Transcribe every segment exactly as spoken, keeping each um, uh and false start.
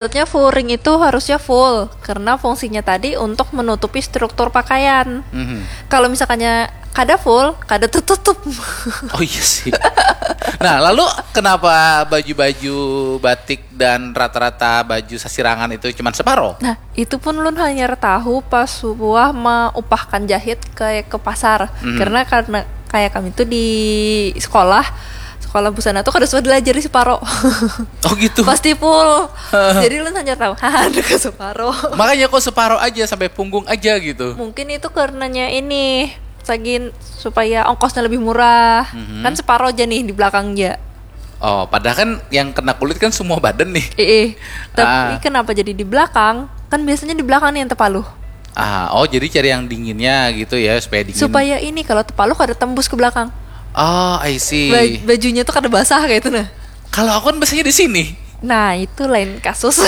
Menurutnya furing itu harusnya full karena fungsinya tadi untuk menutupi struktur pakaian. Mhm. Kalau misalkannya kada full, kada tertutup. Oh iya sih. Nah, lalu kenapa baju-baju batik dan rata-rata baju sasirangan itu cuman separo? Nah, itu pun ulun hanyar tahu pas suah maupahkan jahit ke ke pasar. Mhm. Karena karena kayak kami tuh di sekolah, sekolah busana tuh kada suah dilajari separo. Oh gitu. Pasti full. Jadi ulun hanyar tahu, haha, ada ke separo. Makanya kok separo aja sampai punggung aja gitu. Mungkin itu karenanya ini, sagin supaya ongkosnya lebih murah. Mhm. Kan separo aja nih di belakang aja. Oh, padahal kan yang kena kulit kan semua badan nih. Eh, tapi Ah. kenapa jadi di belakang? Kan biasanya di belakang nih yang tepaluh. Ah, oh, jadi cari yang dinginnya gitu ya, supaya dingin. Supaya ini kalau tepaluh kada tembus ke belakang. Oh, I see. Ba- bajunya tuh kada basah kayak itu nah. Kalau aku kan biasanya di sini. Nah, itu lain kasus.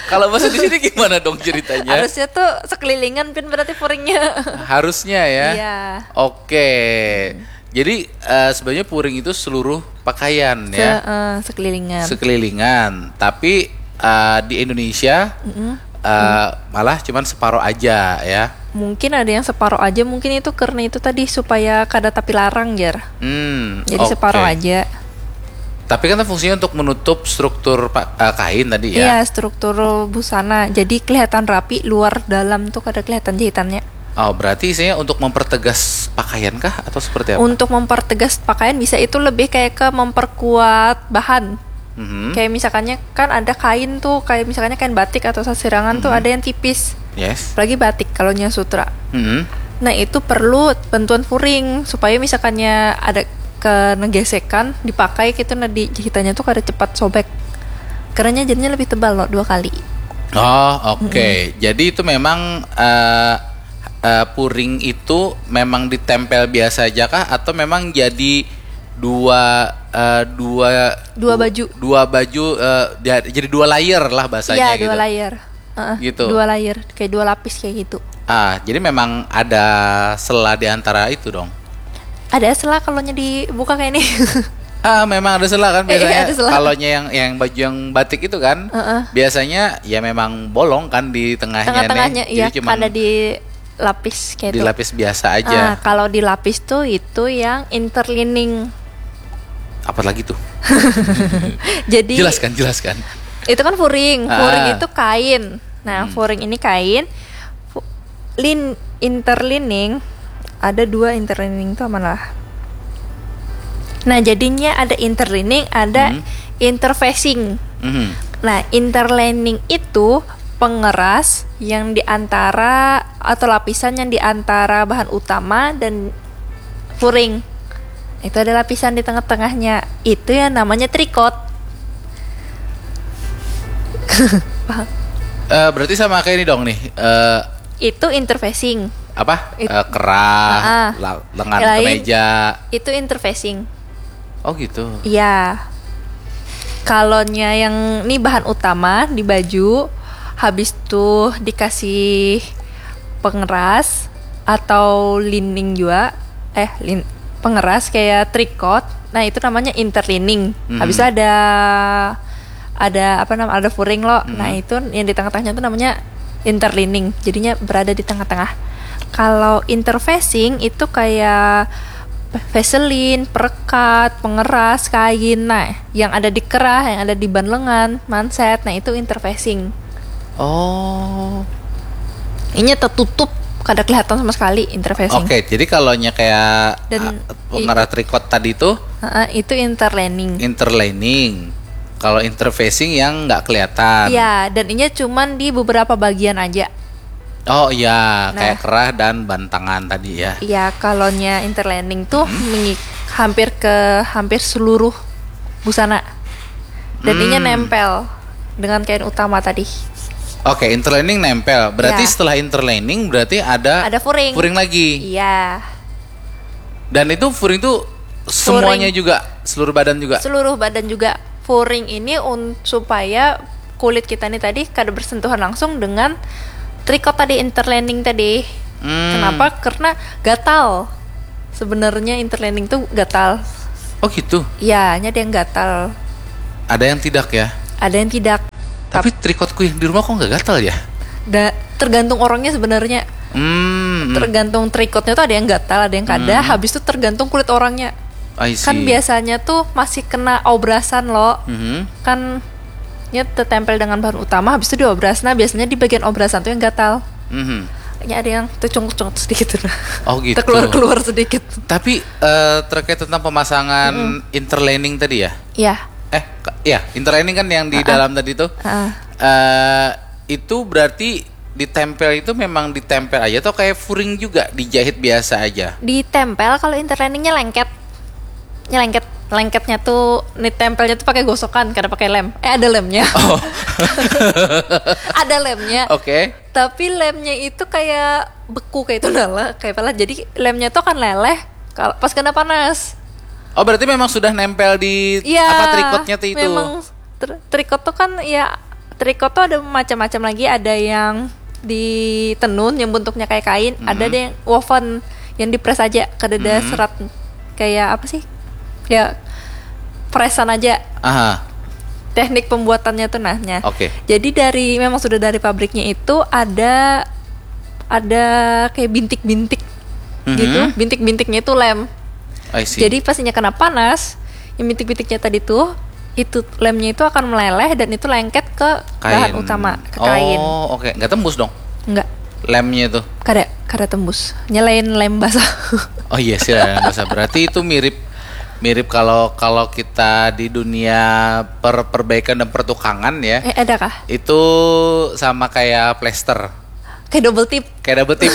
Kalau bahasa di sini gimana dong ceritanya? Harusnya tuh sekelilingan pin berarti furingnya. Harusnya ya. Iya. Oke. Jadi eh, sebenarnya furing itu seluruh pakaian ya. Se- eh, sekelilingan. Sekelilingan. Tapi eh, di Indonesia Mm-mm. eh, malah cuman separoh aja ya. Mungkin ada yang separoh aja, mungkin itu karena itu tadi supaya kada tapi larang, jar. Hmm, Jadi oke. Separoh aja. Tapi kan fungsinya untuk menutup struktur pa- eh, kain tadi ya. Iya, struktur busana. Jadi kelihatan rapi, luar dalam tuh kada kelihatan jahitannya. Oh, berarti isinya untuk mempertegas pakaian kah atau seperti apa? Untuk mempertegas pakaian bisa, itu lebih kayak ke memperkuat bahan. Mhm. Kayak misalkannya kan ada kain tuh, kayak misalkannya kain batik atau sasirangan tuh Mhm. Ada yang tipis. Yes. Apalagi batik kalau nya sutra. Mhm. Nah, itu perlu bantuan furing supaya misalkannya ada kena gesekan, dipakai gitu, nah di jahitannya tuh kada cepat sobek. Karena jadinya lebih tebal loh dua kali. Oh, oke. Jadi itu memang eh, eh, furing itu memang ditempel biasa aja kah atau memang jadi dua eh, dua Dua baju. Dua baju eh, dia- jadi dua layer lah bahasanya Iya, gitu. Dua layer. Heeh, Gitu. Dua layer, kayak dua lapis kayak gitu. Ah, jadi memang ada sela di antara itu dong. Ada sela kalau nya dibuka kayak ini. Ah, memang ada sela kan Eh, iya, biasanya. Ada sela. Kalau nya yang yang baju yang batik itu kan, Heeh. Biasanya ya memang bolong kan di tengahnya. Tengah-tengahnya, Nih. Iya, Jadi cuman ada di lapis kayak di itu. Lapis biasa aja. Ah, kalau di lapis tuh itu yang interlining. Apa lagi tuh? Jadi Jelaskan, jelaskan. Itu kan furing. Ah. Furing itu kain. Nah, Hmm. Furing ini kain. Fu- lin interlining, ada dua interlining tuh mana lah. Nah, jadinya ada interlining, ada Hmm. interfacing. Mhm. Nah, interlining itu pengeras yang diantara atau lapisan yang diantara bahan utama dan furing. Itu ada lapisan di tengah-tengahnya. Itu yang namanya tricot. Paham? Eh, berarti sama kayak ini dong nih. Eh, Itu interfacing. Apa? It- Eh, kerah, Ah, ah. la- lengan Lain. Kemeja. Itu interfacing. Oh gitu. Iya. Kalau nya yang ini bahan utama di baju, habis tuh dikasih pengeras atau lining juga, eh lin, pengeras kayak tricot. Nah, itu namanya interlining. Mhm. Habis itu ada ada apa nama ada furing lo. Mhm. Nah, itu yang di tengah-tengahnya tuh namanya interlining. Jadinya berada di tengah-tengah. Kalau interfacing itu kayak vaselin, perekat, pengeras, kain. Nah, yang ada di kerah, yang ada di ban lengan, manset, nah itu interfacing. Oh. Ini tertutup, kada kelihatan sama sekali interfacing. Oke, jadi kalau nya kayak Dan ah, pengeras tricot tadi tuh Heeh, itu interlining. Interlining. Kalau interfacing yang nggak kelihatan. Iya, dan ini cuman di beberapa bagian aja. Oh iya, Nah. Kayak kerah dan bantangan tadi ya. Iya, kalau nya interlining tuh mengi- hampir ke hampir seluruh busana. Dan ini Hmm. Nempel dengan kain utama tadi. Oke, interlining nempel. Berarti Ya. Setelah interlining berarti ada Ada furing. Furing lagi. Iya. Dan itu furing tuh semuanya juga, seluruh badan juga. Seluruh badan juga. Furing ini un- supaya kulit kita nih tadi kada bersentuhan langsung dengan tricot tadi, interlining tadi. Hmm. Kenapa? Karena gatal. Sebenarnya interlining tuh gatal. Oh gitu. Ya, ada yang gatal. Ada yang tidak ya? ada yang tidak. Tapi trikotku yang di rumah kok nggak gatal ya? Da, tergantung orangnya sebenarnya. Hmm. Tergantung trikotnya tuh ada yang gatal, ada yang kada. Hmm. Habis itu tergantung kulit orangnya. I see. Kan biasanya tuh masih kena obrasan loh. Mhm. Kan nya tertempel dengan bahan utama, habis itu diobras. Nah, biasanya di bagian obrasan tuh yang gatal. Mhm. Nya ada yang tercungkut-cungkut sedikit tuh. Oh, gitu. Terkeluar-keluar sedikit. Tapi eh, terkait tentang pemasangan interlining tadi ya? Ya. Eh, ka- ya, interlining kan yang di Ah, ah. dalam tadi tuh. Ah. Eh, itu berarti ditempel itu memang ditempel aja atau kayak furing juga, dijahit biasa aja? Ditempel, kalau interliningnya lengket. Nya lengket, lengketnya tuh, nih, tempelnya tuh pakai gosokan, kada pakai lem. Eh, ada lemnya. Oh, Ada lemnya. oke. Tapi lemnya itu kayak beku kayak itu, nah lah, kayak apa lah. Jadi lemnya tuh akan leleh kalau pas kena panas. Oh, berarti memang sudah nempel di Iya. apa, trikotnya tuh itu? Memang tr- trikot tuh kan ya, trikot tuh ada macam-macam lagi. Ada yang ditenun yang bentuknya kayak kain, ada Mhm. ada yang woven yang dipres aja, kada ada Mhm. serat, kayak apa sih? Ya, presan aja. Aha. Teknik pembuatannya tuh, nahnya. Oke. Jadi dari, memang sudah dari pabriknya itu ada ada kayak bintik-bintik Mhm. gitu. Bintik-bintiknya itu lem. I see. Jadi pas inya kena panas, yang bintik-bintiknya tadi tuh, itu lemnya itu akan meleleh dan itu lengket ke bahan Kain. Utama, ke kain. Oh, oke. Nggak tembus dong Enggak, lemnya itu? Kada, kada tembus. Nya lain lem basah. Oh iya sih, lem basah. Berarti itu mirip, mirip kalau kalau kita di dunia per perbaikan dan pertukangan ya. Eh, ada kah? Itu sama kayak plester. Kayak double tip. Kayak double tip.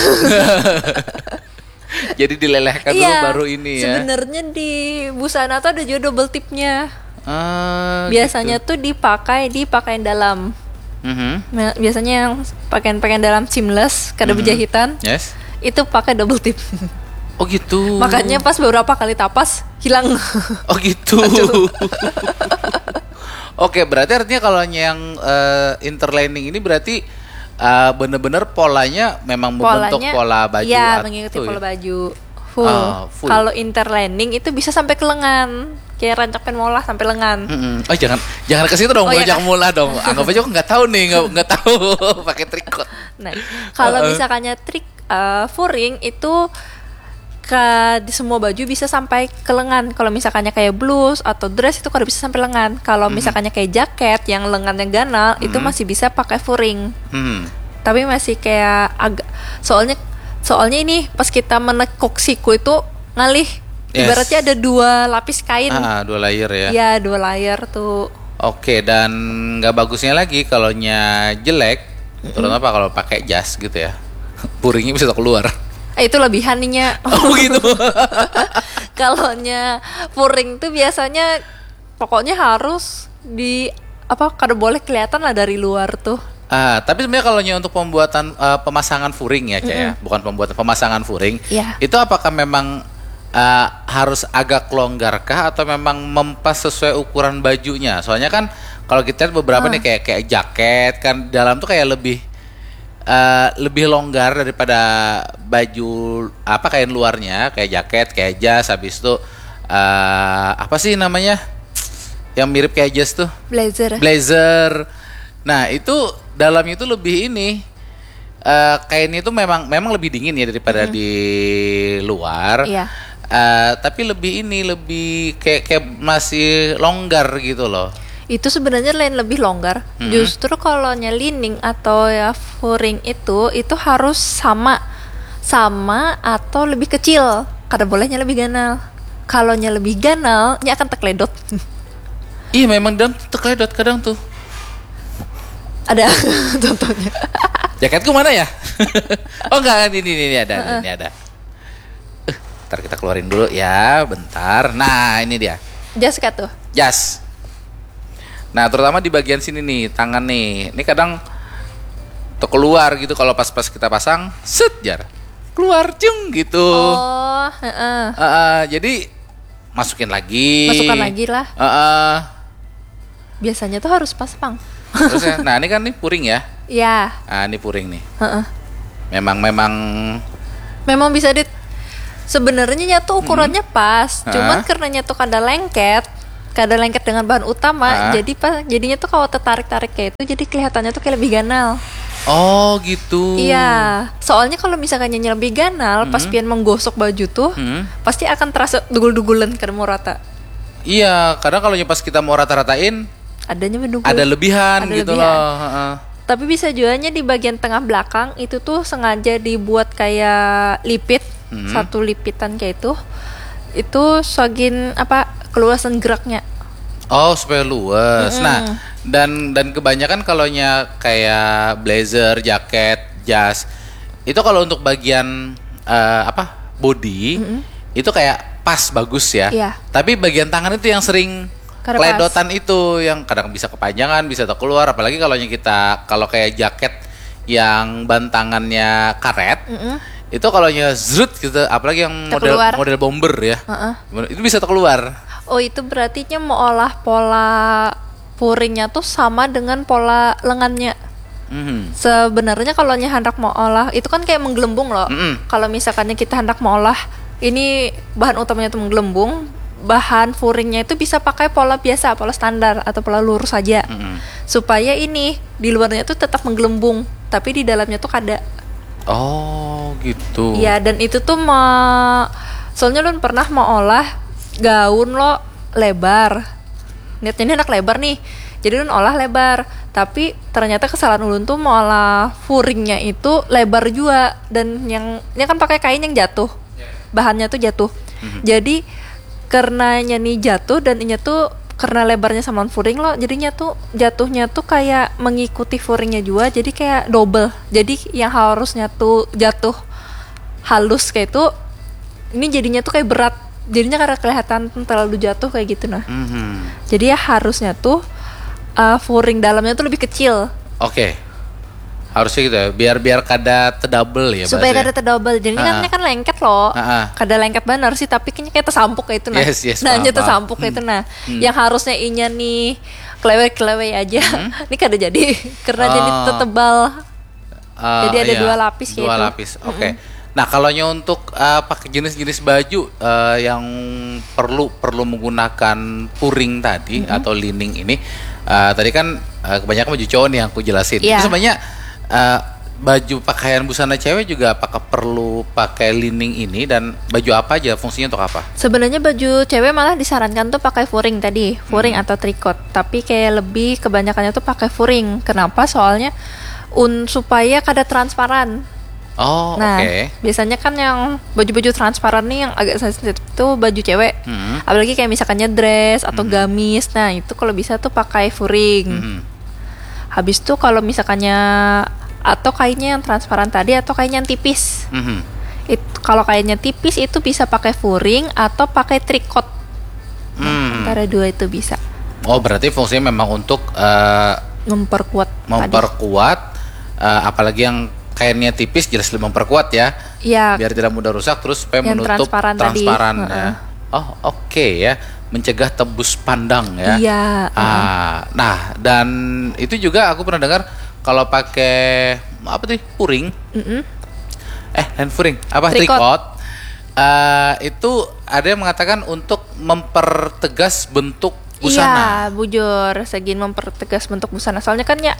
Jadi dilelehkan dulu Iya, baru ini ya. Sebenarnya di busana tuh ada juga double tipnya. Ah, Biasanya gitu. Tuh dipakai di pakaian dalam. Mhm. Nah, biasanya yang pakaian-pakaian dalam seamless, kada Mhm. Bejahitan, Yes. Itu pakai double tip. Oh gitu. Makanya pas beberapa kali tapas, hilang. Oh gitu. Oke, berarti artinya kalau yang eh, interlining ini berarti eh, bener-bener polanya memang membentuk Polanya, pola baju ya, atau mengikuti ya? Pola baju. Full. Ah, full. Kalau interlining itu bisa sampai ke lengan. Kayak rancak pengen molah sampai lengan. Mm-mm. Oh, jangan, jangan ke situ dong, Oh, iya. Jangan mulai dong. Anggap aja aku nggak tahu nih, nggak nggak tahu pakai trikot. Nah, kalau Heeh. Misalkannya trik eh, furing itu ke di semua baju bisa sampai ke lengan. Kalau misalkannya kayak blus atau dress itu kada bisa sampai lengan. Kalau Mhm. Misalkannya kayak jaket yang lengannya ganal itu Mhm. Masih bisa pakai furing. Hmm. Tapi masih kayak agak, soalnya soalnya ini pas kita menekuk siku itu ngalih. Yes. Ibaratnya ada dua lapis kain. Ah, dua layer ya. Ya, dua layer tuh. Oke, dan nggak bagusnya lagi kalau nya jelek, terutama kalau pakai jas gitu ya. Furingnya bisa keluar. Eh, itu lebihan nih, Nya. Oh gitu. Kalau nya furing tuh biasanya pokoknya harus di apa, kada boleh kelihatan lah dari luar tuh. Ah, tapi sebenarnya kalau nya untuk pembuatan eh, pemasangan furing ya, Cak, ya, bukan pembuatan, pemasangan furing, Iya. Itu apakah memang eh, harus agak longgar kah atau memang mempas sesuai ukuran bajunya? Soalnya kan kalau kita lihat beberapa Ah. nih kayak kayak jaket kan dalam tuh kayak lebih eh, lebih longgar daripada baju apa, kain luarnya, kayak jaket, kayak jas, habis itu eh, apa sih namanya? Yang mirip kayak jas tuh? Blazer. Blazer. Nah, itu dalamnya itu lebih ini eh kainnya itu memang memang lebih dingin ya daripada di luar. Iya. Eh, tapi lebih ini, lebih kayak kayak masih longgar gitu loh. Itu sebenarnya lain lebih longgar. Mhm. Justru kalau nya lining atau ya furing itu itu harus sama sama atau lebih kecil. Kada bolehnya lebih ganal. Kalau nya lebih ganal, nya akan terkeledot. Ih, memang dam terkeledot kadang tuh. Ada contohnya. Jaketku mana ya? Oh enggak, ini ini, ini ada, ini ada. Eh, ntar kita keluarin dulu ya, bentar. Nah, ini dia. Jas kah tuh? Jas. Nah, terutama di bagian sini nih, tangan nih. Ini kadang tuh keluar gitu kalau pas-pas kita pasang, set jar. Keluar jeng gitu. Oh, heeh. Heeh, jadi masukin lagi. Masukkan lagi lah. Heeh. Biasanya tuh harus pas pang. Terus ya, nah ini kan nih puring ya. Ya, Ah, ini puring nih. heeh. Memang memang Memang bisa di sebenarnya nya tuh ukurannya pas, Hah? Cuman karena nya tuh kada lengket, kada lengket dengan bahan utama, ah, jadi pas jadinya tuh kalau tertarik-tarik kayak itu, jadi kelihatannya tuh kayak lebih ganal. Oh gitu. Iya, soalnya kalau misalkan nyanyi lebih ganal, hmm, pas pian menggosok baju tuh, hmm, pasti akan terasa dugul-dugulan, kada mau rata. Iya, karena kalau pas kita mau rata-ratain, adanya mendugul, ada lebihan ada gitu lebihan loh. Heeh. Tapi bisa juanya di bagian tengah belakang itu tuh sengaja dibuat kayak lipit, hmm, satu lipitan kayak itu. Itu sagin apa, keluasan geraknya. Oh, supaya luas. Mm-mm. Nah, dan dan kebanyakan kalaunya kayak blazer, jaket, jas, itu kalau untuk bagian, eh, apa, body, mm-mm, itu kayak pas, bagus ya. Iya. Tapi bagian tangan itu yang sering, kada pas, keledotan itu, yang kadang bisa kepanjangan, bisa terkeluar. Apalagi kalau kita, kalau kayak jaket yang bantangannya karet, mm-mm, itu kalau zrut gitu, apalagi yang model, terkeluar, model bomber ya, heeh, itu bisa terkeluar. Oh, itu berarti nya mau olah pola puringnya tuh sama dengan pola lengannya. Mhm. Sebenarnya kalau nya hendak mau olah itu kan kayak menggelembung loh. Mm-mm. Kalau misalkannya kita hendak mau olah, ini bahan utamanya tuh menggelembung, bahan furingnya itu bisa pakai pola biasa, pola standar atau pola lurus saja. Mm-mm. Supaya ini di luarnya tuh tetap menggelembung, tapi di dalamnya tuh kada. Oh gitu. Iya, dan itu tuh me-, soalnya ulun pernah mau olah gaun lo lebar. Niatnya ini anak lebar nih, jadi ulun olah lebar. Tapi ternyata kesalahan ulun tuh mau olah furingnya itu lebar juga, dan yang, ini kan pakai kain yang jatuh, bahannya tuh jatuh. Mhm. Jadi karena nya nih jatuh dan inya tuh karena lebarnya sama furing lo, jadinya tuh jatuhnya tuh kayak mengikuti furingnya juga, jadi kayak double. Jadi yang harusnya tuh jatuh halus kayak itu, ini jadinya tuh kayak berat, jadinya karena kelihatan terlalu jatuh kayak gitu nah. Mhm. Jadi ya harusnya tuh, uh, furing dalamnya tuh lebih kecil. Oke. Harusnya gitu ya, biar, biar kada terdouble ya. Supaya bahasanya, kada terdouble. Jadi kan, ha-ha, ini kan lengket loh. Ha-ha. Kada lengket benar sih, tapi kayaknya kayak tersampuk kayak itu nah. Yes, yes, nah, paham, paham. Tersampuk kayak itu nah. Hmm. Yang harusnya inya nih kelewek-kelewek aja. Hmm. Ini kada jadi karena jadi, oh, tertebal. Eh, jadi ada, iya, dua lapis kayak dua itu. Lapis. Oke. Mm-mm. Nah, kalau nya untuk, eh, pakai jenis-jenis baju, eh, yang perlu, perlu menggunakan puring tadi, mm-mm, atau lining ini, eh, tadi kan, eh, kebanyakan baju cowok nih yang aku jelasin. Iya. Itu sebenarnya, eh, baju pakaian busana cewek juga apakah perlu pakai lining ini, dan baju apa aja, fungsinya untuk apa? Sebenarnya baju cewek malah disarankan tuh pakai furing tadi, furing, hmm, atau tricot. Tapi kayak lebih kebanyakannya tuh pakai furing. Kenapa? Soalnya un-, supaya kada transparan. Oh, nah, oke. Biasanya kan yang baju-baju transparan nih yang agak sensitif tuh baju cewek. Hmm. Apalagi kayak misalkannya dress atau, hmm, gamis. Nah, itu kalau bisa tuh pakai furing. Hmm. Habis tuh kalau misalkannya, atau kainnya yang transparan tadi atau kainnya yang tipis. Hmm. It-, kalau kainnya tipis itu bisa pakai furing atau pakai tricot. Nah, hmm, antara dua itu bisa. Oh, berarti fungsinya memang untuk, eh, memperkuat tadi. Memperkuat, eh, apalagi yang kainnya tipis jelas lebih memperkuat ya. Iya. Biar tidak mudah rusak, terus supaya yang menutup transparan tadi. Transparan ya. Heeh. Oh, oke ya. Mencegah tembus pandang ya. Iya, heeh. Ah, nah, dan itu juga aku pernah dengar kalau pakai apa tuh? Puring. Mm-mm. Eh, lain puring. Apa? Tricot. Tricot. Eh, itu ada yang mengatakan untuk mempertegas bentuk busana. Iya, bujur, segin mempertegas bentuk busana. Soalnya kan ya,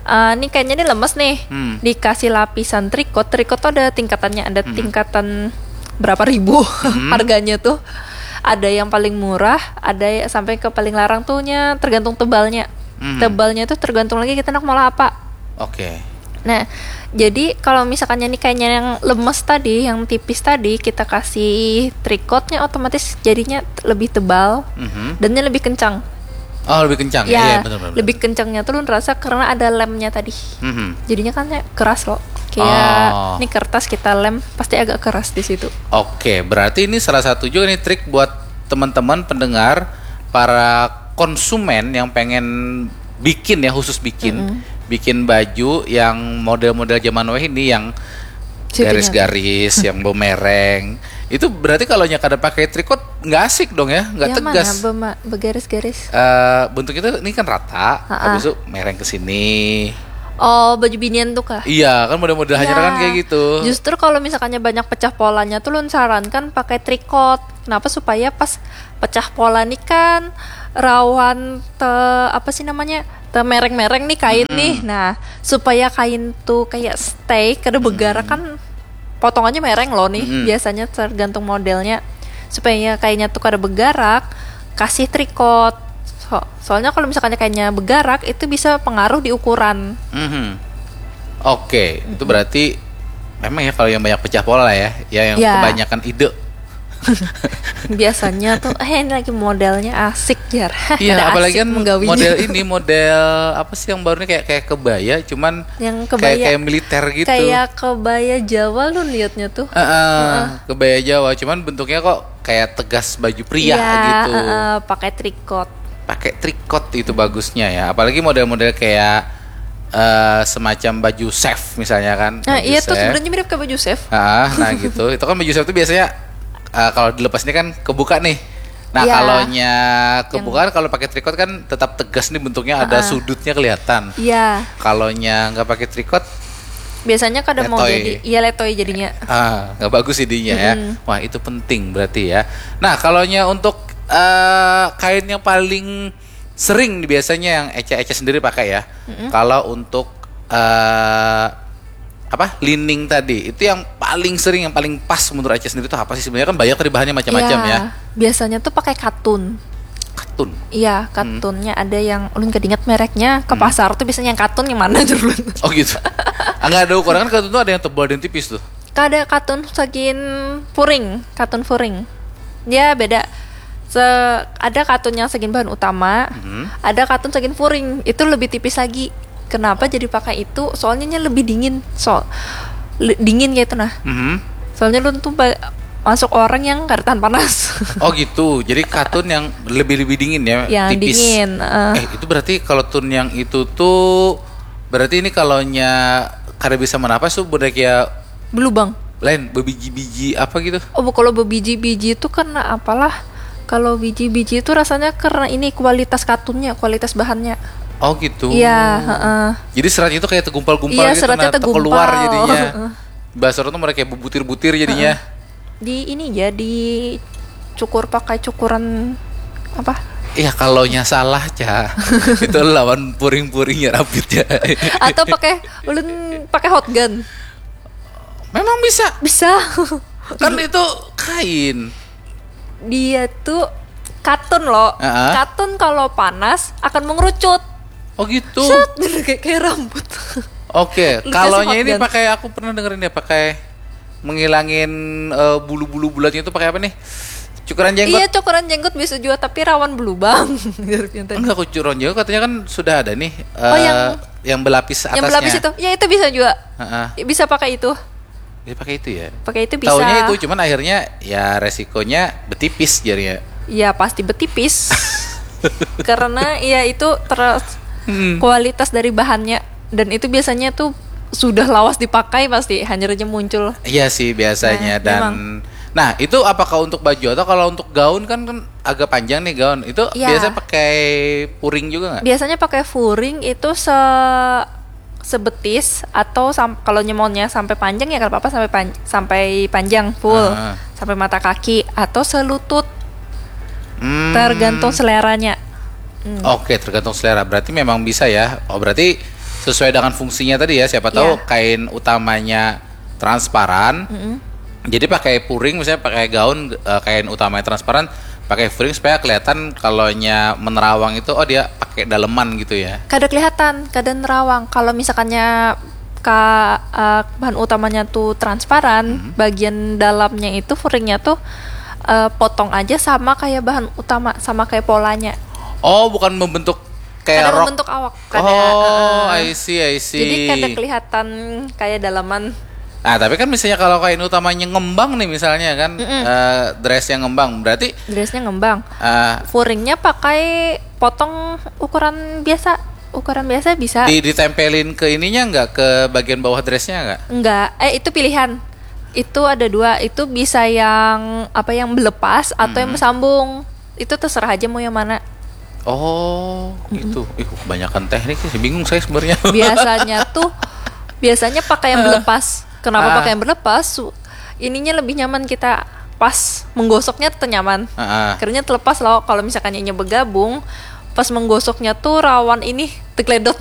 eh, ini kayaknya ini lemes nih. Hmm. Dikasih lapisan tricot, tricot tuh ada tingkatannya, ada, hmm, tingkatan berapa ribu, hmm, harganya tuh. Ada yang paling murah, ada ya sampai ke paling larang tuh nya tergantung tebalnya. Hmm. Tebalnya tuh tergantung lagi kita nak mau apa. Oke. Nah, jadi kalau misalkannya nih kayaknya yang lemes tadi, yang tipis tadi, kita kasih tricotnya, otomatis jadinya lebih tebal, mhm, dan nya lebih kencang. Oh, lebih kencang. Ya, iya, benar, benar, benar. Lebih kencangnya tuh lu ngerasa karena ada lemnya tadi. Mhm. Jadinya kan kayak keras loh. Kayak, oh, ini kertas kita lem, pasti agak keras di situ. Oke, berarti ini salah satu juga nih trik buat teman-teman pendengar, para konsumen yang pengen bikin ya, khusus bikin, mm-mm, bikin baju yang model-model zaman weh ini, yang garis-garis, yang bemereng. Itu berarti kalau nya kada pakai tricot nggak asik dong ya, nggak tegas. Yang mana bema-, begaris-garis? Eh, bentuknya tuh ini kan rata, ha-ha, habis itu mereng ke sini. Oh, baju binian tuh kah? Iya, kan model-model hanyar kan kayak gitu. Justru kalau misalkannya banyak pecah polanya tuh, lun sarankan pakai tricot. Kenapa? Supaya pas pecah pola nih kan, rawan te apa sih namanya, te mereng-mereng nih kain nih. Nah, supaya kain tuh kayak stay kada begarak kan, potong aja mereng loh nih. Biasanya tergantung modelnya. Supaya kainnya tuh kada begarak, kasih tricot. So- soalnya kalau misalkannya kainnya begarak, itu bisa pengaruh di ukuran. Mhm. Oke, itu berarti memang ya kalau yang banyak pecah pola ya, ya yang Ya. Kebanyakan ide. Biasanya tuh, eh, ini lagi modelnya asik, jar. Iya, Ada apalagi asik kan menggawinya. Model ini model apa sih yang baru nih, kayak kayak kebaya, cuman Yang kayak kebaya. Kayak militer gitu. Kayak kebaya Jawa lu liatnya tuh. Heeh, kebaya Jawa, cuman bentuknya kok kayak tegas baju pria Iya, gitu. Heeh, pakai tricot. Pakai tricot itu bagusnya ya, apalagi model-model kayak eh, semacam baju chef misalnya kan. Nah, Baju iya tuh chef. Sebenarnya mirip kayak baju chef. Ah, nah gitu. Itu kan baju chef tuh biasanya eh, kalau dilepas ini kan kebuka nih. Nah, Iya. Kalau nya kebuka kan, kalau pakai tricot kan tetap tegas nih bentuknya, ada sudutnya kelihatan. Iya. Kalau nya nggak pakai tricot, Biasanya kada mau Letoy. Jadi, iya, letoy jadinya. Ah, nggak bagus jadinya ya. Wah, itu penting berarti ya. Nah, kalau nya untuk eh, kain yang paling sering nih biasanya yang Eca-Eca sendiri pakai ya. Kalau untuk eh, apa, lining tadi, itu yang paling sering, yang paling pas menurut Eca sendiri itu apa sih? Sebenarnya kan banyak tadi bahannya macam-macam ya. Biasanya tuh pakai katun. Katun. Iya, katunnya ada yang ulun kada ingat mereknya. Ke pasar tuh biasanya yang katun yang mana aja ulun. Oh gitu. Ah, nggak ada ukuran kan, katun tuh ada yang tebal dan tipis tuh. Kada, katun sagin furing, katun furing. Dia beda. Se- ada katun yang sagin bahan utama, ada katun sagin furing. Itu lebih tipis lagi. Kenapa jadi pakai itu? Soalnya nya lebih dingin. So le- dingin kayak itu nah. Mhm. Soalnya lu tuh ba- masuk orang yang kada tahan panas. Oh gitu. Jadi katun yang lebih-lebih dingin ya, Yang tipis. Dingin. Eh, Eh, itu berarti kalau tun yang itu tuh berarti ini kalau nya kada bisa menapas tuh budak ya Belubang. Lain, bebiji-biji apa gitu? Oh, kalau bebiji-biji itu karena apalah? Kalau biji-biji itu rasanya karena ini kualitas katunnya, kualitas bahannya. Oh gitu. Iya, heeh. Jadi seratnya itu kayak tergumpal-gumpal Iya, gitu, seratnya nah, terkeluar tergumpal. Jadinya. Heeh. Bahasa orang tuh mereka kayak bubutiran-butiran jadinya. Di ini ya, dicukur pakai cukuran apa? Iya, kalau nya salah, Ca. Itu lawan puring-puring ya rapit ya. Atau pakai ulun pakai hot gun. Memang bisa. Bisa. Kan itu kain. Dia tuh katun loh. Heeh. Katun kalau panas akan mengerucut. Oh gitu. Set, bener kayak, kayak rambut. Oke, Lu kalau kasih nya ini hot gun. Pakai, aku pernah dengerin ya, pakai menghilangin eh, bulu-bulu bulatnya itu pakai apa nih? Cukuran jenggot. Iya, cukuran jenggot bisa juga, tapi rawan belubang. Yang tadi. Enggak, kok cukuran jenggot katanya kan sudah ada nih. Oh, eh, yang yang belapis atasnya. Yang belapis itu. Ya, itu bisa juga. Heeh. Bisa pakai itu. Dia pakai itu ya. Pakai itu bisa. Taunya itu, cuman akhirnya ya resikonya betipis jadinya. Ya, pasti betipis. Karena ya itu terus Hmm. kualitas dari bahannya, dan itu biasanya tuh sudah lawas dipakai pasti hanyar aja muncul. Iya sih biasanya. Nah, Dan memang. Nah, itu apakah untuk baju atau kalau untuk gaun kan, kan agak panjang nih gaun. Itu Iya. Biasa pakai puring juga nggak? Biasanya pakai furing itu se sebetis atau sam- kalau nyemonnya sampai panjang ya nggak apa-apa, sampai pan- sampai panjang full, Ah. Sampai mata kaki atau selutut, Hmm. Tergantung seleranya. Oke, tergantung selera. Berarti memang bisa ya. Oh, berarti sesuai dengan fungsinya tadi ya. Siapa tahu Iya. Kain utamanya transparan. Jadi pakai puring, misalnya pakai gaun eh, kain utamanya transparan, pakai puring supaya kelihatan kalau nya menerawang itu, oh, dia pakai daleman gitu ya. Kada kelihatan, kada nerawang. Kalau misalkannya ka eh, bahan utamanya tuh transparan, bagian dalamnya itu furingnya tuh eh, potong aja sama kayak bahan utama, sama kayak polanya. Oh, bukan membentuk kayak Kada rok. Membentuk awak, kada. Oh, Heeh. I see, I see. Jadi kada kelihatan kayak daleman. Nah, tapi kan misalnya kalau kain utamanya ngembang nih misalnya kan, eh, dress yang ngembang, berarti Dressnya ngembang. eh, Furingnya pakai potong ukuran biasa, ukuran biasa bisa. Di, ditempelin ke ininya nggak, ke bagian bawah dressnya nggak? Enggak, eh itu pilihan. Itu ada dua, itu bisa yang apa, yang melepas atau yang bersambung. Itu terserah aja mau yang mana. Oh, gitu. Ih, kebanyakan teknik sih, bingung saya sebenarnya. Biasanya tuh biasanya pakai yang berlepas. Kenapa Ah. Pakai yang berlepas? Su- Ininya lebih nyaman kita pas menggosoknya tuh nyaman. Heeh. Karena terlepas loh, kalau misalkan inya bergabung, pas menggosoknya tuh rawan ini tergeledot.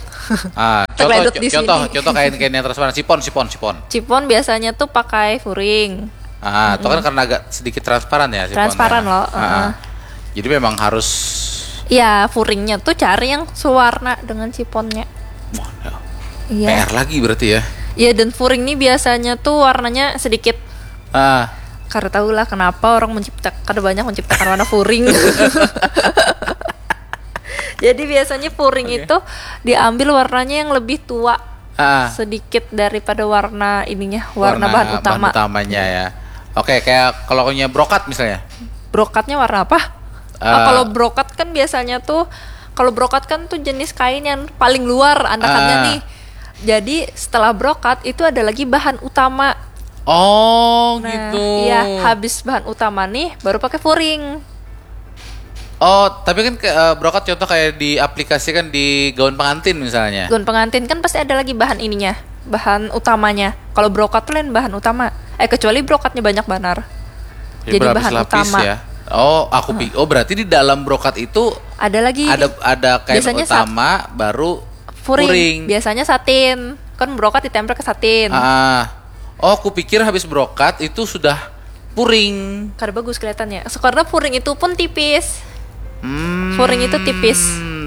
Ah, contoh, Tergeledot di contoh, sini. Contoh kain-kain yang transparan, sipon, sipon, sipon. Sipon biasanya tuh pakai furing. Ah, itu kan karena agak sedikit transparan ya, sipon. Transparan Ya. Loh, Ah, heeh. Jadi memang harus Ya, furingnya tuh cari yang sewarna dengan siponnya. Wah, ya. Iya. P R lagi berarti ya. Iya, dan furing nih biasanya tuh warnanya sedikit, Ah, karena tahu lah kenapa orang menciptakan, ada banyak menciptakan warna furing. Jadi biasanya furing itu diambil warnanya yang lebih tua ah. sedikit daripada warna ininya, warna, bahan utama. Utamanya ya. Oke, kayak kalau punya brokat misalnya. Brokatnya warna apa? Eh. Oh, kalau brokat kan biasanya tuh, kalau brokat kan tuh jenis kain yang paling luar andakannya Ah. Nih. Jadi setelah brokat itu ada lagi bahan utama. Oh, Nah, gitu. Iya, habis bahan utama nih, baru pakai furing. Oh, tapi kan ke, eh, brokat contoh kayak diaplikasikan di gaun pengantin misalnya. Gaun pengantin kan pasti ada lagi bahan ininya, bahan utamanya. Kalau brokat tuh lain bahan utama. Eh, kecuali brokatnya banyak banar. Jadi Jadi berlapis-lapis bahan utama. Ya. Oh, aku pikir. Oh, berarti di dalam brokat itu Ada lagi ada ada kain Biasanya sat- utama, baru furing. furing. Biasanya satin. Kan brokat ditempel ke satin. Ah. Oh, aku pikir habis brokat itu sudah furing. Kada bagus kelihatannya. Karena furing itu pun tipis. Hmm, Furing itu tipis.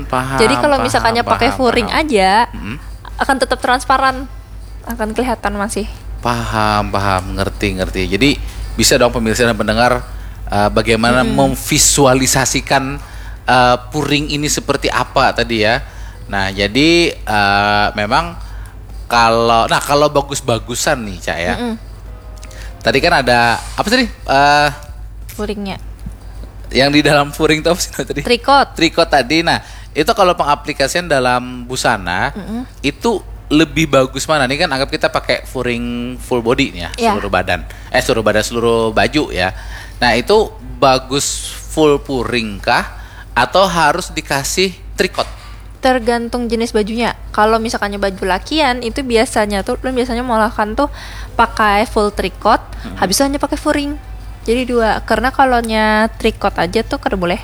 Paham. Jadi kalau Paham, misalkannya paham, pakai furing paham. aja, Mm-mm. Akan tetap transparan. Akan kelihatan masih. Paham, paham, ngerti, ngerti. Jadi bisa dong pemirsa dan pendengar, eh, bagaimana memvisualisasikan, eh, puring ini seperti apa tadi ya. Nah, jadi, eh, memang kalau, nah, kalau bagus-bagusan nih, Cak, ya. Mm-mm. Tadi kan ada apa tadi? Eh, Furingnya. Yang di dalam furing itu apa sih tadi? Tricot. Tricot tadi. Nah, itu kalau pengaplikasian dalam busana Mm-mm. itu lebih bagus mana? Ini kan anggap kita pakai furing full body nih ya, Iya. Seluruh badan. Eh, seluruh badan, seluruh baju ya. Nah, itu bagus full puring kah atau harus dikasih tricot? Tergantung jenis bajunya. Kalau misalkannya baju lakian itu biasanya tuh, ulun biasanya mengolahkan tuh pakai full tricot, habis itu hanya pakai furing. Jadi dua. Karena kalaunya tricot aja tuh kada boleh.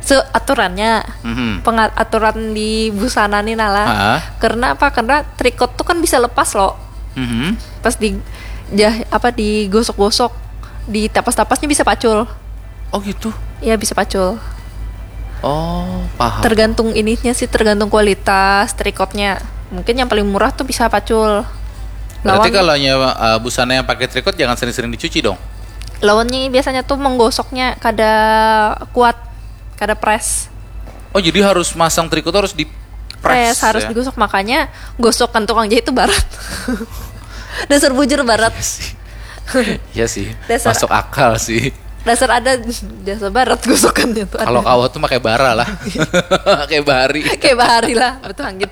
Seaturannya Mhm. Pengat aturan di busana nih nala. Ha. Karena apa? Karena tricot tuh kan bisa lepas loh. Mhm. Pas di jah apa digosok-gosok, ditapas-tapasnya bisa pacul. Oh gitu. Ya bisa pacul. Oh, paham. Tergantung ininya sih, tergantung kualitas tricotnya. Mungkin yang paling murah tuh bisa pacul. Berarti Lawan kalau nyewa, eh, busana yang pakai tricot jangan sering-sering dicuci dong. Lawannya biasanya tuh menggosoknya kada kuat, kada press. Oh, jadi harus masang tricot harus di Press, harus ya? Digosok, makanya gosokan tukang jahit tuh barat. Dasar bujur barat. Iya sih. Dasar- Masuk akal sih. Dasar ada jasa barat gosokannya tuh. Kalau Ada. Kawa tuh pakai bara lah. Pakai bari. Kayak bahari lah, betul hanggit.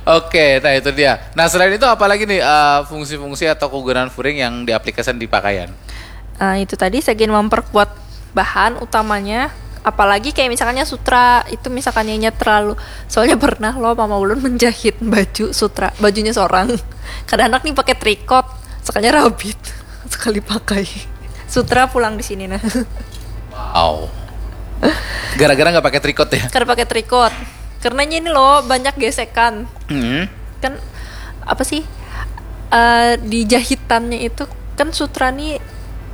Oke, nah itu dia. Nah, selain itu apa lagi nih, eh, fungsi-fungsi atau kegunaan furing yang diaplikasikan di pakaian? Ah, itu tadi segin memperkuat bahan utamanya, apalagi kayak misalkannya sutra itu, misalkannya inya terlalu, soalnya pernah loh mama ulun menjahit baju sutra, bajunya seorang. Kada handak nih pakai tricot, sekalinya rabit. Sekali pakai sutra pulang di sini nah. Wow. Gara-gara nggak pakai tricot ya? Kada pakai tricot karena ini loh banyak gesekan. Hmm. Kan apa sih, eh, di jahitannya itu kan sutra nih,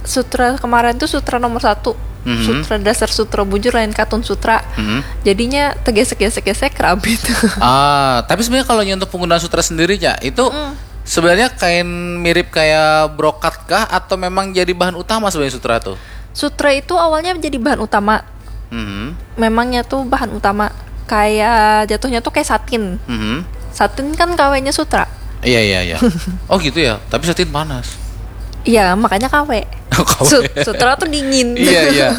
sutra kemarin tuh sutra nomor satu. Mhm. Sutra dasar, sutra bujur, lain katun sutra. Mhm. Jadinya tergesek-gesek-gesek, rabit. Ah, tapi sebenarnya kalau untuk penggunaan sutra sendiri ya, itu Mm. sebenarnya kain mirip kayak brokat kah atau memang jadi bahan utama sebenarnya sutra tuh? Sutra itu awalnya jadi bahan utama. Mhm. Memangnya tuh bahan utama, kayak jatuhnya tuh kayak satin. Mhm. Satin kan kawenya sutra. Iya, iya, iya. Oh gitu ya. Tapi satin panas. Iya, makanya kawe. Kawe. Sut- sutra tuh dingin. Iya, iya.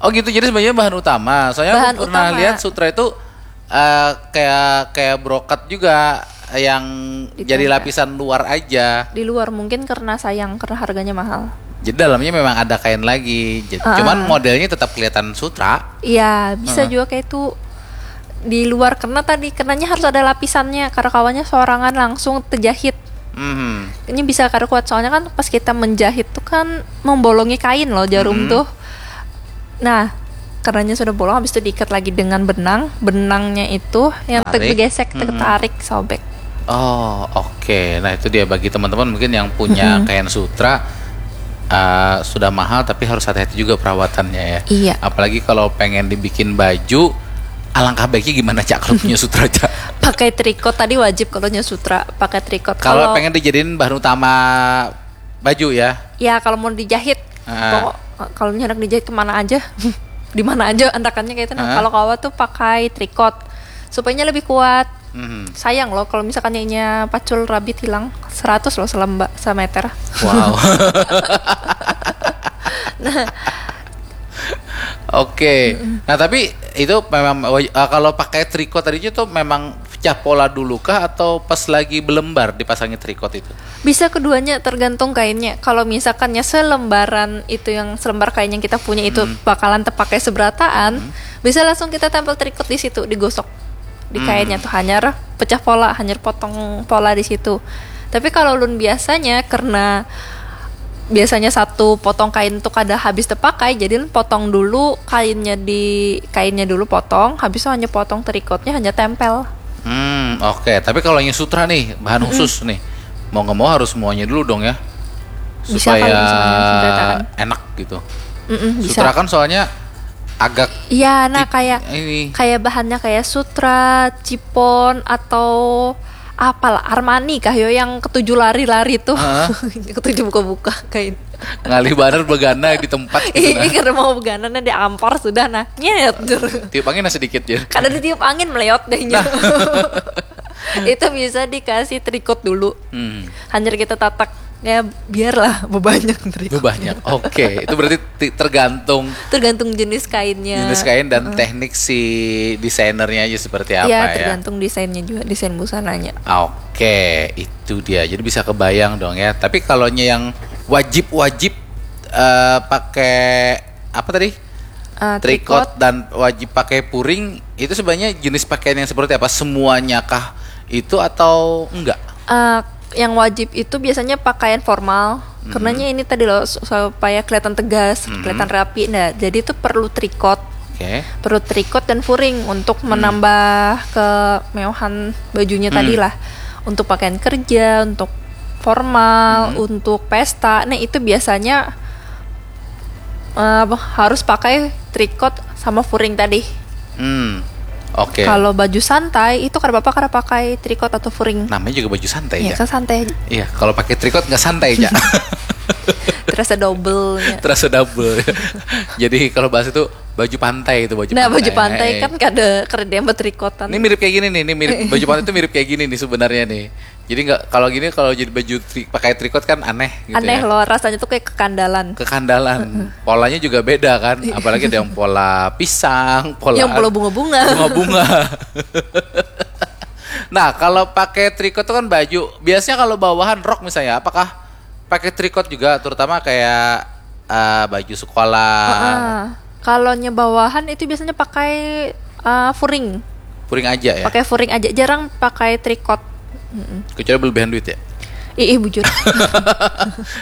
Oh gitu, jadi sebenarnya bahan utama. Soalnya Bahan aku pernah utama. Lihat sutra itu, eh, kayak kayak brokat juga yang Di jadi tenda. Lapisan luar aja. Di luar mungkin karena sayang, karena harganya mahal. Jadi dalamnya memang ada kain lagi. Jadi, Ah. Cuman modelnya tetap kelihatan sutra. Iya, bisa Heeh. Juga kayak itu di luar, karena tadi kenanya harus ada lapisannya, karena kawanya sorangan langsung terjahit. Hmm. Ini bisa kada kuat, soalnya kan pas kita menjahit tuh kan membolongi kain loh jarum Mhm. tuh. Nah, karenanya sudah bolong, habis itu diikat lagi dengan benang. Benangnya itu yang ter- Tarik. digesek, Mhm. tertarik, sobek. Oh, oke. Nah, itu dia bagi teman-teman mungkin yang punya Mhm. kain sutra, uh, sudah mahal, tapi harus hati-hati juga perawatannya ya. Iya. Apalagi kalau pengen dibikin baju, alangkah baiknya gimana, Cak, kalau punya sutra, Cak? Pakai tricot tadi wajib kalau nya sutra, pakai tricot. Kalau pengen dijadiin bahan utama baju ya. Ya, kalau mau dijahit, Ah. pokok kalau nya hendak dijahit kemana aja, di mana aja andakannya kayak itu. Nah, Ah. kalau kawa tuh pakai tricot supaya lebih kuat. Mhm. Sayang loh kalau misalkan nya pacul rabit hilang, seratus loh selemba semeter. Wow. Nah, Oke. Nah, tapi itu memang waj- ah, kalau pakai tricot tadi itu memang pecah pola dulu kah atau pas lagi belembar dipasangi tricot itu? Bisa keduanya, tergantung kainnya. Kalau misalkannya selembaran itu, yang selembar kain yang kita punya itu Hmm. bakalan terpakai seberataan, bisa langsung kita tempel tricot di situ, digosok di Hmm. kainnya tuh, hanyar pecah pola, hanyar potong pola di situ. Tapi kalau ulun biasanya, karena biasanya satu potong kain tuh kada habis terpakai, jadi ulun potong dulu kainnya, di kainnya dulu potong, habis itu hanya potong tricotnya, hanya tempel. Hmm, oke. Tapi kalau yang sutra nih, bahan khusus nih, mau nggak mau harus semuanya dulu dong ya, Bisa kalau supaya misalnya sutra kan. Enak gitu. Mm-mm, bisa. Sutra kan soalnya agak Iya, nah, tip- kayak ini. Kayak bahannya kayak sutra, chiffon, atau apalah, Armani kah yo, yang ketujuh lari-lari tuh. Heeh. Ketujuh buka-buka kain. Ngalih banar begana di tempat gitu Ini nah. Karena mau begana, nah, diampar sudah, nah, nyet. Tiup angin nah sedikit ya. Kada ditiup angin, meleot deh. Itu bisa dikasih tricot dulu. Hmm. Hanyar kita tatak, ya, biarlah bebanyak tricot. Banyak. Oke, itu berarti ti- tergantung Tergantung jenis kainnya. jenis kain dan teknik si desainernya aja seperti apa Ya, ya. Tergantung desainnya juga, desain busananya. Oke, itu dia. Jadi bisa kebayang dong ya. Tapi kalau nya yang wajib-wajib eh, pakai apa tadi? Eh, Tricot dan wajib pakai puring, itu sebenarnya jenis pakaian yang seperti apa? Semuanya kah itu atau enggak? Eh, yang wajib itu biasanya pakaian formal. Karenanya ini tadi loh, su- supaya kelihatan tegas, kelihatan rapi. Nah, jadi itu perlu tricot. Oke. Perlu tricot dan furing untuk menambah kemewahan bajunya tadi lah. Untuk pakaian kerja, untuk formal, untuk pesta. Nah, itu biasanya eh, apa, harus pakai tricot sama furing tadi. Hmm. Oke. Kalau baju santai itu kada apa-apa, kada pakai tricot atau furing. Namanya juga baju santai Ya, ya. kan santai aja. Iya, kalau pakai tricot nggak santai ya. Terasa double-nya. Terasa double. Jadi kalau bahasa itu baju pantai itu baju Nah, pantai. baju pantai kan kada kada yang bertricotan. Ini mirip kayak gini nih, ini mirip baju pantai itu mirip kayak gini nih sebenarnya nih. Jadi nggak kalau gini kalau jadi baju tri, pakai tricot kan aneh gitu Aneh ya. Loh, rasanya tuh kayak kekandalan. Kekandalan. Polanya juga beda kan, apalagi ada yang pola pisang, pola Yang pola bunga-bunga. Bunga-bunga. Nah, kalau pakai tricot tuh kan baju. Biasanya kalau bawahan rok misalnya, apakah pakai tricot juga, terutama kayak eh, baju sekolah? Ah, kalau nya bawahan itu biasanya pakai ah, furing. Puring aja ya. Pakai furing aja, jarang pakai tricot. Mm-mm. Kecuali berlebihan duit ya. Ih, ih, bujur.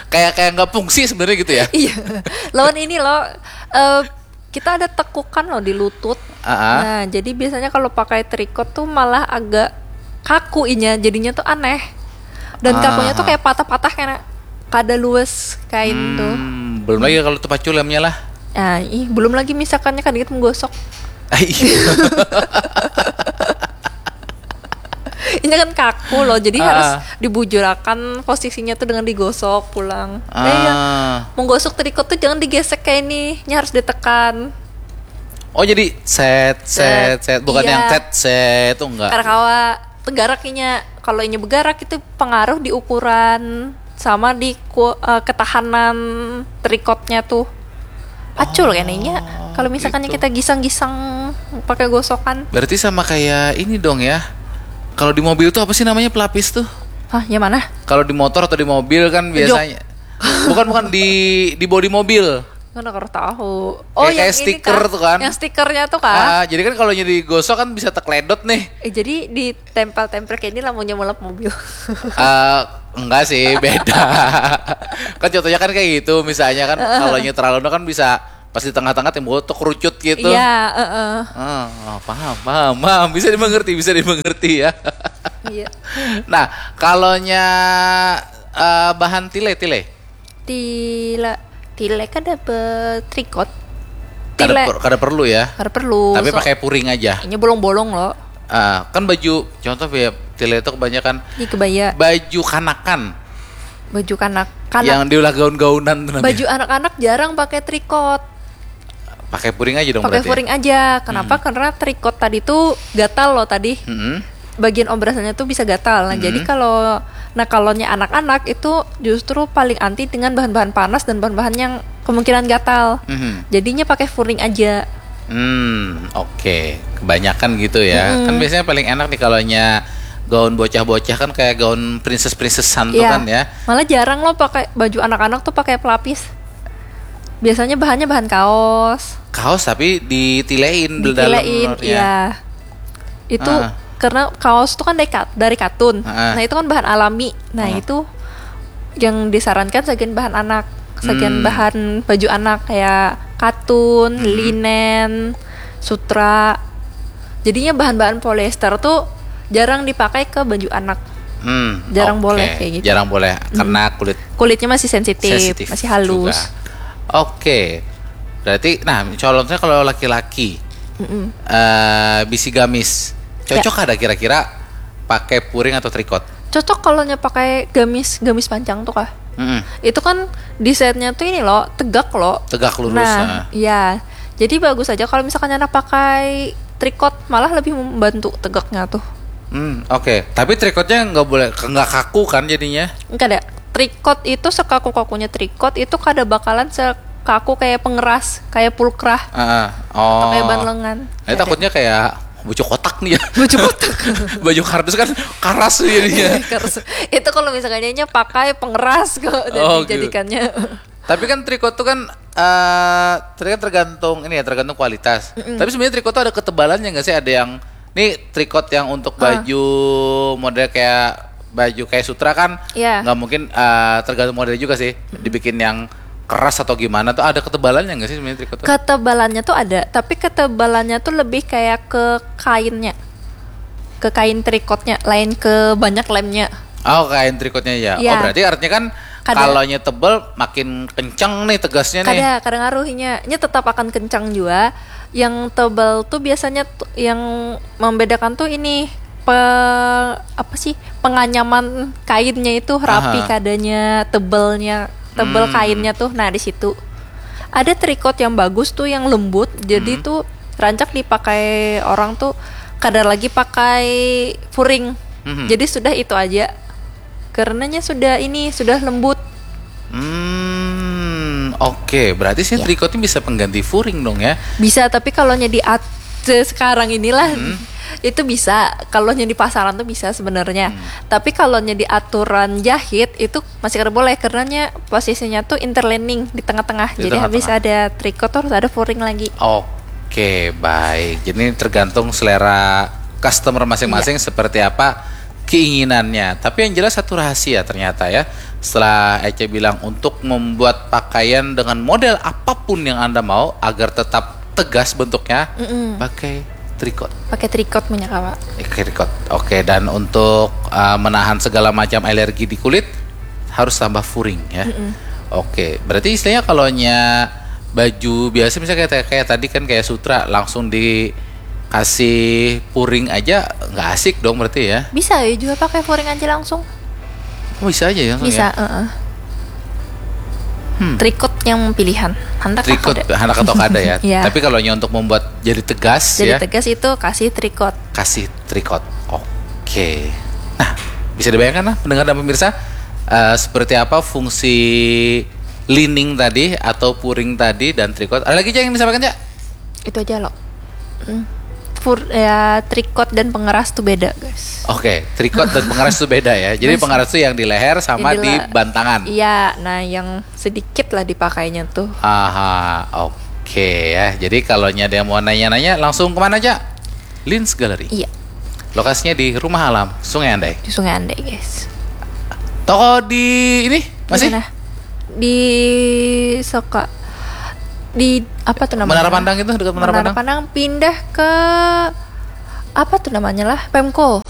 Kayak kayak nggak fungsi sebenarnya gitu ya. Iya. Lawan ini loh, eh, kita ada tekukan loh di lutut. Ah, ah. Nah, jadi biasanya kalau pakai tricot tuh malah agak kaku inya, jadinya tuh aneh. Dan Ah. kakunya tuh kayak patah-patah, karena kada luas kain tuh. Hmm, belum lagi kalau tuh pacul lemnya lah. Ah, ih, belum lagi misalkannya kan gitu menggosok. Ah, iya. Ini kan kaku loh, jadi Ah. harus dibujurakan posisinya tuh dengan digosok pulang. Eh, iya. Ah. Menggosok tricot tuh jangan digesek kayak ini, nya harus ditekan. Oh, jadi set set set, bukan Iya. Yang set set tuh enggak. Karena kawa tegarak inya. Kalau inya bergerak itu pengaruh di ukuran sama di ku- eh, ketahanan tricotnya tuh. Pacul kan inya. Kalau misalkannya gitu. Kita gisang-gisang pakai gosokan. Berarti sama kayak ini dong ya. Kalau di mobil tuh apa sih namanya pelapis tuh? Hah, yang mana? Kalau di motor atau di mobil kan biasanya bukan bukan di di bodi mobil. Mana kau tahu? Oh, kayak, kayak stiker tuh kan. Yang stikernya tuh kan. Ah, jadi kan kalau nyeri gosok kan bisa tekledot nih. Eh, jadi ditempel-tempel kayak ini lamunnya mulap mobil. uh, enggak sih, beda. Kan contohnya kan kayak gitu, misalnya kan kalau terlalu kan bisa pas di tengah-tengah timbul tuh kerucut gitu. Iya, heeh. Uh, oh, paham, paham, paham. Bisa dimengerti, bisa dimengerti ya. Iya. Nah, kalaunya uh, bahan tile, tile. Tile, tile kada betrikot. Kada, per, kada perlu ya. Kada perlu. Tapi so, pakai puring aja. Ini bolong-bolong loh. Uh, kan baju, contoh ya, tile itu kebanyakan di kebaya. Baju kanakan. Baju kanak-kanak. Yang diulah gaun-gaunan tuh. Baju anak-anak jarang pakai trikot. Pakai puring aja dong. Pakai puring aja. Kenapa? Hmm. Karena trikot tadi tuh gatal loh tadi. Hmm. Bagian obrasannya tuh bisa gatal. Nah, hmm. Jadi kalau, nah, kalaunya anak-anak itu justru paling anti dengan bahan-bahan panas dan bahan-bahan yang kemungkinan gatal. Hmm. Jadinya pakai puring aja. Hmm, oke. Okay. Kebanyakan gitu ya. Hmm. Kan biasanya paling enak nih kalaunya gaun bocah-bocah kan kayak gaun princess-princessan tuh ya. Kan ya. Malah jarang loh pakai baju anak-anak tuh pakai pelapis. Biasanya bahannya bahan kaos. Kaos tapi ditilein. Ditilein, iya. Itu ah. Karena kaos tuh kan dari, kat, dari katun. Ah. Nah, itu kan bahan alami. Nah, ah. Itu yang disarankan sagan bahan anak, sagan hmm. Bahan baju anak kayak katun, hmm. Linen, sutra. Jadinya bahan-bahan polyester tuh jarang dipakai ke baju anak. Hmm, jarang okay. Boleh kayak gitu. Jarang boleh hmm. Karena kulit kulitnya masih sensitif, sensitif masih halus. Oke. Okay. Berarti nah, contohnya kalau laki-laki mm -mm. Uh, bisi gamis. Cocok ya. Ada kira-kira pakai puring atau trikot? Cocok kalau nya pakai gamis, gamis panjang tuh kah? Mm -mm. Itu kan desainnya tuh ini loh, tegak loh. Tegak lurus. Nah, nah. Iya. Jadi bagus aja kalau misalkan anak pakai trikot, malah lebih membantu tegaknya tuh. Hmm, oke. Okay. Tapi trikotnya nggak boleh, nggak kaku kan jadinya? Enggak ada. Trikot itu sekaku-kakunya trikot itu kada bakalan sekaku kayak pengeras, kayak pulkrah. Uh, oh. Atau kayak ban lengan. Nah, takutnya kayak baju kotak nih ya. Baju kotak. Baju kardus kan karas tuh jadinya. Karas. Itu kalau misalnya pakai pengeras kok oh, gitu. Jadikannya. Tapi kan trikot tuh kan uh, tergantung ini ya, tergantung kualitas. Mm -mm. Tapi sebenarnya trikot tuh ada ketebalannya nggak sih? Ada yang ini trikot yang untuk uh. Baju model kayak baju kayak sutra kan yeah. Nggak mungkin uh, tergantung model juga sih mm-hmm. Dibikin yang keras atau gimana tuh ada ketebalannya nggak sih sebenarnya trikot tuh? Ketebalannya tuh ada, tapi ketebalannya tuh lebih kayak ke kainnya, ke kain trikotnya, lain ke banyak lemnya. Oh kain trikotnya ya. Yeah. Oh berarti artinya kan kalau nya tebal makin kenceng nih tegasnya nih. Kada, kada ngaruhnya. Nya tetap akan kenceng juga. Yang tebal tuh biasanya yang membedakan tuh ini pe, apa sih penganyaman kainnya itu rapi Aha. Kadanya tebalnya tebal hmm. Kainnya tuh nah di situ ada trikot yang bagus tuh yang lembut jadi hmm. Tuh rancak dipakai orang tuh kada lagi pakai furing hmm. Jadi sudah itu aja karenanya sudah ini sudah lembut. Hmm, oke. Okay. Berarti sih ya. Trikot ini bisa pengganti furing dong ya? Bisa, tapi kalau nya di at sekarang inilah hmm. Itu bisa. Kalau nya di pasaran tuh bisa sebenarnya. Hmm. Tapi kalau nya di aturan jahit itu masih kada boleh karena nya posisinya tuh interlining di tengah-tengah. Di Jadi tengah-tengah. Habis ada trikot tuh harus ada furing lagi. Oke, okay, baik. Jadi tergantung selera customer masing-masing ya. Seperti apa keinginannya. Tapi yang jelas satu rahasia ternyata ya. Setelah Ece bilang untuk membuat pakaian dengan model apapun yang Anda mau agar tetap tegas bentuknya, mm -mm. Pakai trikot. Pakai trikot punya kawa. Pakai trikot. Oke, dan untuk uh, menahan segala macam alergi di kulit harus tambah furing ya. Mm -mm. Oke, berarti istilahnya kalau nya baju biasa misalnya kayak kayak tadi kan kayak sutra langsung di kasih puring aja nggak asik dong berarti ya. Bisa ya juga pakai puring aja langsung. Oh, bisa aja ya. Bisa, ya? Uh -uh. Hmm. Trikot yang pilihan. Handak trikot, handak atau kada ya. Ya. Tapi kalau untuk membuat jadi tegas jadi ya. Jadi tegas itu kasih trikot. Kasih trikot. Oke. Nah, bisa dibayangkan lah pendengar dan pemirsa uh, seperti apa fungsi lining tadi atau puring tadi dan trikot. Ada lagi aja yang disampaikan, Cak? Itu aja loh. Hmm. Fur, ya, tricot dan pengeras tuh beda, guys. Oke, tricot dan pengeras tuh beda ya. Jadi pengeras tuh yang di leher sama Jadi di lah- bantangan. Iya, nah, yang sedikit lah dipakainya tuh. Aha, oke ya. Jadi kalau ada yang mau nanya-nanya, langsung kemana aja? Lens Gallery. Iya, Lokasinya di Rumah Alam, Sungai Andai. Di Sungai Andai, guys. Toko di ini masih? Mana? Di Soka, di apa tuh namanya? Menara Pandang itu, dekat Menara Pandang? Pandang pindah ke apa tuh namanya lah? Pemko.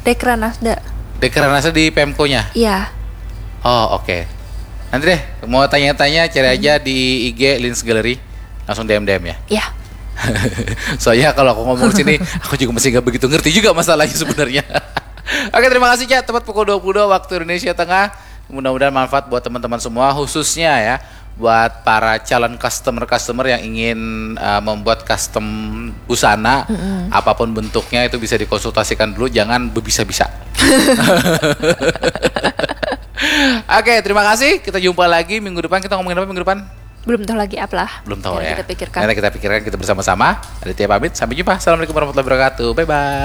Dekranasda. Dekranasda di Pemko-nya. Iya. Oh, oke. Nanti deh, mau tanya-tanya, cari aja di I G Lens Gallery. Langsung D M D M ya. Iya. Soalnya kalau aku ngomong sini, aku juga masih nggak begitu ngerti juga masalahnya sebenarnya. Oke, terima kasih, Cak. Tepat pukul dua puluh dua waktu Indonesia Tengah. Mudah-mudahan manfaat buat teman-teman semua, khususnya ya buat para calon customer-customer yang ingin uh, membuat custom busana, apapun bentuknya, itu bisa dikonsultasikan dulu, jangan bebisa-bisa. Oke, terima kasih. Kita jumpa lagi minggu depan. Kita ngomongin apa minggu depan? Belum tahu lagi apa lah. Belum tahu Nanti ya. Kita pikirkan. Nanti kita pikirkan, kita bersama-sama. Aditya pamit. Sampai jumpa. Assalamualaikum warahmatullahi wabarakatuh. Bye bye.